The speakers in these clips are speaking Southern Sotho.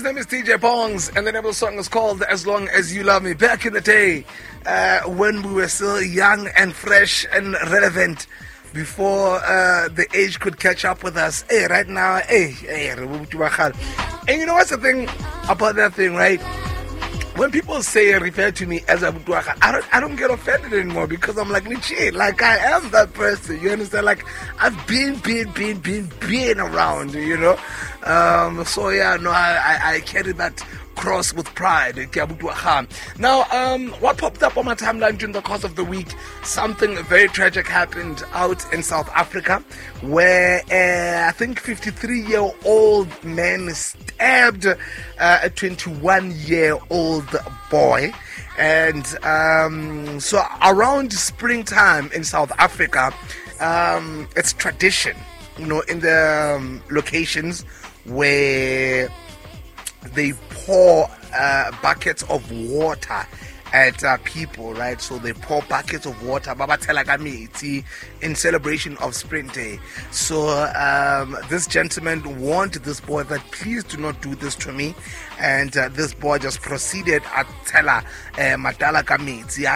name is DJ Bongs, and the name of the song is called As Long As You Love Me. Back in the day, when we were still young and fresh and relevant, before the age could catch up with us. Hey, right now, hey, hey, and you know what's the thing about that thing, right? When people say refer to me as Abu I don't get offended anymore because I'm like, legit, like I am that person. You understand? Like I've been around, you know. So yeah, no, I carry that cross with pride. Now, what popped up on my timeline during the course of the week, something very tragic happened out in South Africa, where I think 53-year-old man stabbed a 21-year-old boy. And so around springtime in South Africa, it's tradition, you know, in the locations where they pour buckets of water at people, right? So they pour buckets of water in celebration of Spring Day. So this gentleman warned this boy that please do not do this to me. And this boy just proceeded at tela matala ka metsi.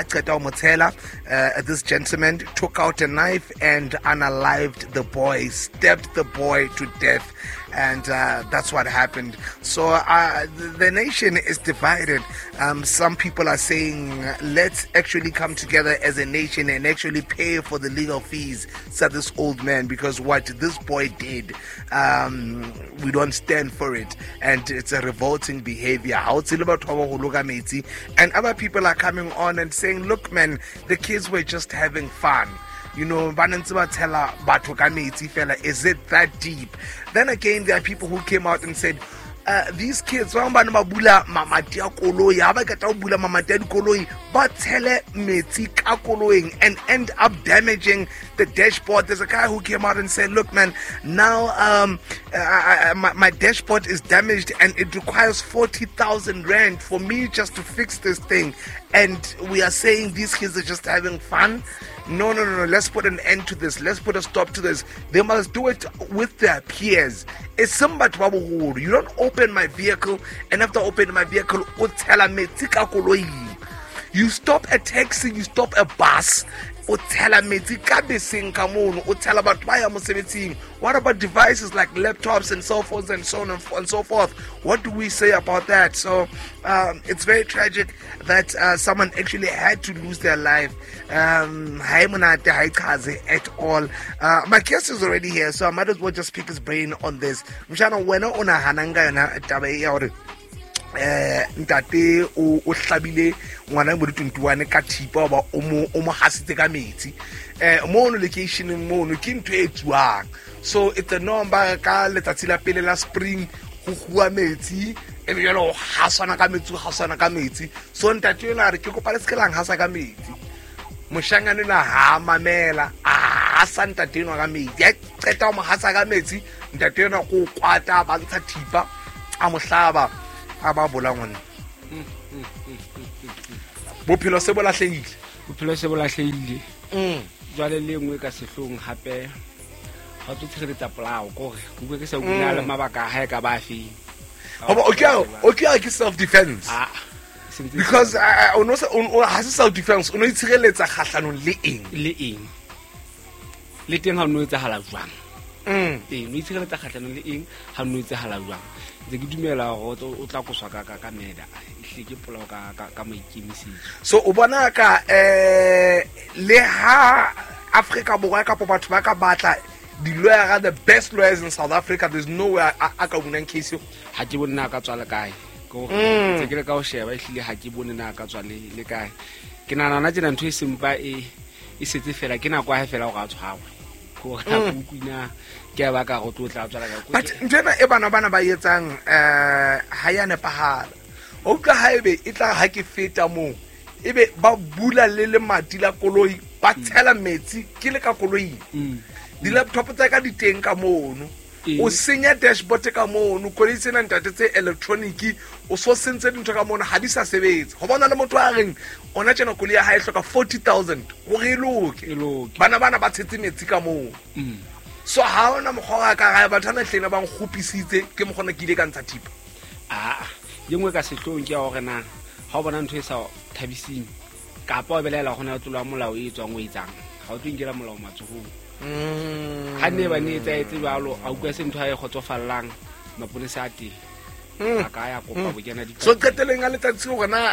This gentleman took out a knife and unalived the boy, stabbed the boy to death. And that's what happened. So the nation is divided. Some people are saying, let's actually come together as a nation and actually pay for the legal fees, said this old man, because what this boy did, we don't stand for it. And it's a revolting behavior. And other people are coming on and saying, look, man, the kids were just having fun. You know, is it that deep? Then again, there are people who came out and said, these kids, and end up damaging the dashboard. There's a guy who came out and said, look, man, now my dashboard is damaged and it requires 40,000 rand for me just to fix this thing. And we are saying these kids are just having fun. No, no, no, no. Let's put an end to this. Let's put a stop to this. They must do it with their peers. It's somebody. You don't open my vehicle, and after opening my vehicle, you stop a taxi, you stop a bus. What about devices like laptops and cell phones and so on and so forth? What do we say about that? So it's very tragic that someone actually had to lose their life. At all. My guest is already here, so I might as well just pick his brain on this. Ntate o hlabile ngwana mo di-21 ka thipa ba o mo hasitse ka metsi mono locationeng mono ke ntho e tsuang. So it's a norm ba ka letsatsi la pele la spring go huwa metsi e be jalo go hasana ka metsi, go hasana ka metsi. So ntate yona a re ke kopa le se ke lang hasa ka metsi. Moshangane na ha mamela a hasa ntate enwa ka metsi, a qeta ho mo hasa ka metsi, ntate enwa ko kwata ba ntsha thipa a mo hlaba a ba bola ngwana. Bophelo se bo lahlehile. Bophelo se bo lahlehile. Jwale le nngwe ka sehlong hape ha o tshireletsa polao kore ke bue ke sa bula le mabaka a hae ka ba feng. Hoba okay ke self defense. Because o no ha se self defense, o no itshireletsa kgahlanong le eng? Le eng? Le teng ha o no etsahala jwang? Ee, no itshireletsa kgahlanong le eng ha no etsahala jwang? Ntse ke dumela hore o tla koswa ka meda ehlile ke polao ka maikemisetso. So o bona ka le ha Afrika Borwa kapo batho ba ka batla di-lawyer, the best lawyers in South Africa, there's nowhere a ka bunang case eo. Ha ke bone na ka tswa le kae. Ke hore ntse ke le ka ho sheba ehlile ha ke bone na ka tswa le kae. Ke nahana hona tjena ntho e sempa e setse fela ke nako ya hae fela hore a tshwarwe. Hore ha kukwina ke ba ka go tlotla tswala ka but ntena e bana bana ba etsang ha ya nepahala. O utlwa haebe e tla ha ke feta moo ebe ba bula le lemati la koloi ba tshela metsi ke le ka koloing. Di-laptop tsa ka di teng ka mono. O senya dashboard ka mono, koloi tsena ntate tse electronic o so sentse dintho ka mono ha di sa sebetse. Ho bona le motho a reng ona tjena koloi ya hae hloka 40,000 hore e loke. Bana bana ba tshetse metsi ka moo. So ha ona mokgwa wa ka gae batho ana hlena ba nkgopisitse ke mokgona ke ile ka ntsha thipa. Aa, ye nngwe ka sehloohong ke ya hore na ha o bona ntho e sa thabising kapa o belaela go na le tlolo ya molao e tswang o etsang, ga o tlo inkela molao matsohong. Ha ne ba ne etsaetse jwalo, a utlwa se ntho a e kgotsofallang, maponesa a teng a ka ya kopa bokena So qeteleng a letsatsi gore na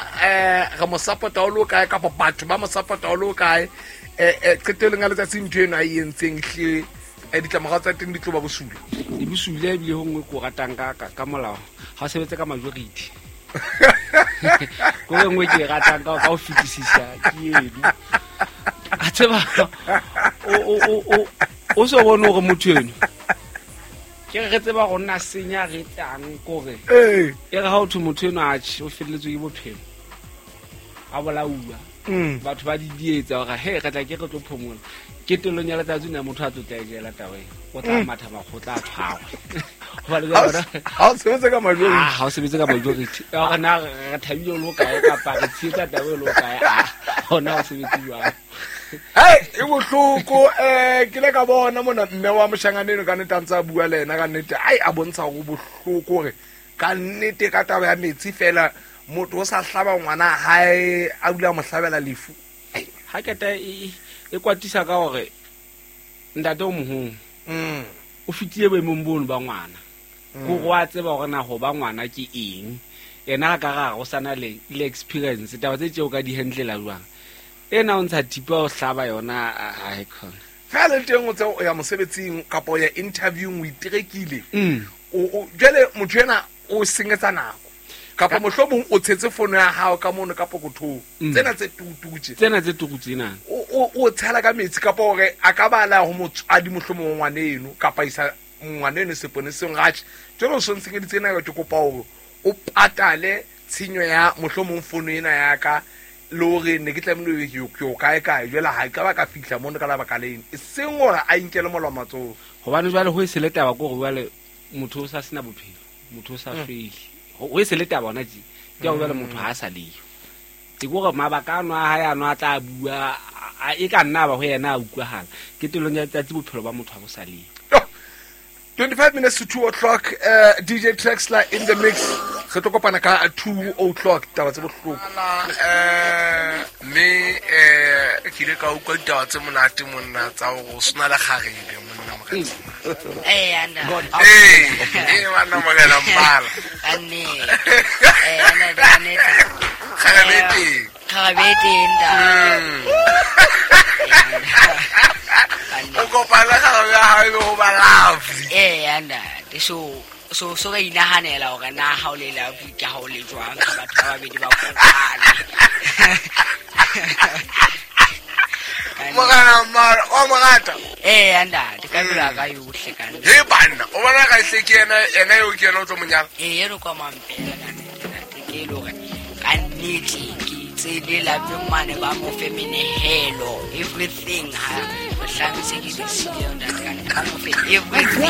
re mo support-a o le o kae kapa batho ba mo support-a o le o kae, qeteleng a letsatsi ntho eno a e entseng hle, ditlamorago tsa teng di tlo ba bosula. Di bosula. Ebile ho nngwe ko ratang ka molao, ga o sebetse ka majority. Ko e nngwe ke e ratang ka ho fetisisa ke eno. A tseba o so bone hore motho eno ke re tseba go nna senya re tsang kore e re ha o thwe motho eno atjhe o felletswe ke bophelo, a bolauwa, batho ba di dietsa hore he re tla ke re tlo phomola. Ke telong ya letsatsi na motho a tlo tla e jela taba e, o tla matha makgotla a tshwarwe. Hobane jwale Ha o sebetse ka majority. Ah, ha o sebetse ka majority ya hore na re thabile o le kae kapa re tshehetsa taba e le kae, ah, hona o sebetse jwang. Hei, e bohloko. Ke le ka bona mona mme wa moshangane eno ka nnete a ntse a bua le ena ka nnete, ai a bontsha hore bohloko hore ka nnete ka taba ya metsi fela motho o sa hlaba ngwana hae a dula a mo hlabela lefu. Ha keta e kwatisa ka hore ntate o moholo o fetile boemong bono ba ngwana, kore wa tseba hore na ho ba ngwana ke eng. Yena a ka ra go sana le experience taba tse tseo ka di handlela jwang. Ena o ntsha thipa o hlaba yona ha e khona. Fela le teng o tse o ya mosebetsing kapa o ya interviewing o iterekile, jwale motho ena o senyetsa nako kapa mohlomong o tshetse fono ya hao ka mono ka pokothong, tsena tse tututse, tsena tse tukutse na o tshela ka metsi kapa hore a ka bala ho motswadi mohlomong ngwana eno kapa isa ngwana eno seponeseng ratjhe jwale o so ntshenyeditse ena, ke kopa hore o patale tshenyo ya mohlomong fono ena ya ka le hore ne ke tlamehile ke o kae kae, jwale ha ka ba ka fihla mono ka lebaka leno, e seng hore a inkele molao matsoho. Hobane jwale ho e se le taba ke hore jwale motho o sa sena bophelo, motho o sa shwele, ho e se le taba hona tje ke hore jwale motho ha a sa leyo. Ke hore mabaka ano a hae ano a tla bua e ka nna ba ho yena a utlwahala. Ke telong ya letsatsi bophelo ba motho ha bo sa leyo. 25 minutes to 2 o'clock, DJ Traxler in the mix. Re tlo kopana ka 2 o'clock, taba tse bohloko. Mme ke ile ka utlwa ditaba tse monate monna tsa hore o sena le kgarebe monna morena. Anda. Banna morena mmala. Ka nnete. Anda, ka nnete. Kgarebe e teng. Kgarebe e teng, ntate. O kopana le kgarebe ya hao ebe ho ba lovely. Anda. So re inahanela hore na ha o le lovely ke ha o le jwang, ka batho ba babedi ba kopane. Morena mmala, wa mo rata? Anda, ka pelo ya ka yohle ka nnete. He banna, o bona ka hle ke yena eo ke yena o tlo mo nyala? Eno kwa mampela ka nnete, ntate, ke e le hore ka nnete ke itse le lapeng mane ba mo fe menehelo, everything ha mohlang se ke le siyo, ntate, ka nnete, ba mo fe everything.